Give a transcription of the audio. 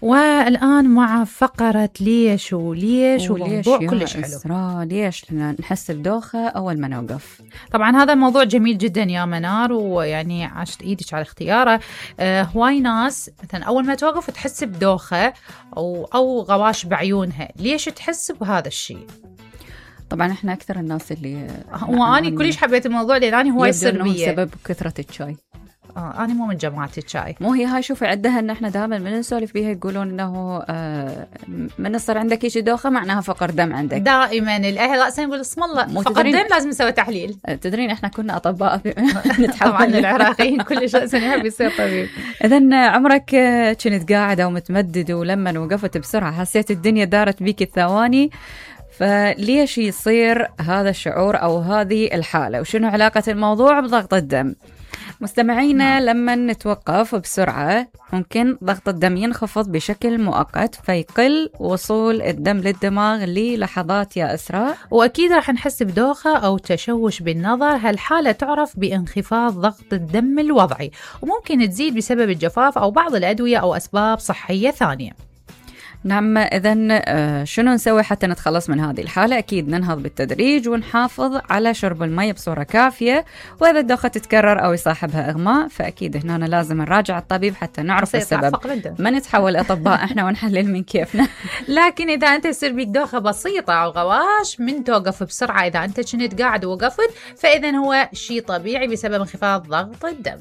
والآن مع فقرة ليش وموضوع كلش حلو. إسراء، ليش نحس بدوخة أول ما نوقف؟ طبعا هذا الموضوع جميل جدا يا منار، ويعني عشت إيدك على اختياره. هواي ناس مثلا أول ما توقف تحس بدوخة أو غواش بعيونها. ليش تحس بهذا الشيء؟ طبعا احنا أكثر الناس اللي وأنا كلش حبيت الموضوع لأني هواي سربية سبب كثرة الشاي. أنا مو من جماعة الشاي. مو هي هاي، شوفي عدها إن إحنا دائما من نسولف بيها يقولون إنه من يصير عندك شيء دوخة معناها فقر دم عندك. دائما الأهل رأسا يقول اسم الله فقر دم لازم نسوي تحليل. تدرين إحنا كنا أطباء طبعا العراقيين كل شيء يحب يصير طبيب. إذن عمرك كنت قاعدة ومتمدد ولما وقفت بسرعة حسيت الدنيا دارت بيك الثواني، فليش يصير هذا الشعور أو هذه الحالة؟ وشنو علاقة الموضوع بضغط الدم؟ مستمعينا لما نتوقف بسرعة ممكن ضغط الدم ينخفض بشكل مؤقت فيقل وصول الدم للدماغ للحظات يا إسراء، وأكيد راح نحس بدوخة أو تشوش بالنظر. هالحالة تعرف بانخفاض ضغط الدم الوضعي، وممكن تزيد بسبب الجفاف أو بعض الأدوية أو أسباب صحية ثانية. نعم، إذن شنو نسوي حتى نتخلص من هذه الحالة؟ أكيد ننهض بالتدريج ونحافظ على شرب المي بصورة كافية، وإذا الدوخة تتكرر أو يصاحبها إغماء فأكيد هنا لازم نراجع الطبيب حتى نعرف السبب، ما نتحول أطباء إحنا ونحلل من كيفنا. لكن إذا أنت يصير بيك دوخة بسيطة أو غواش من توقف بسرعة، إذا أنت كنت قاعد ووقفت فإذن هو شيء طبيعي بسبب انخفاض ضغط الدم.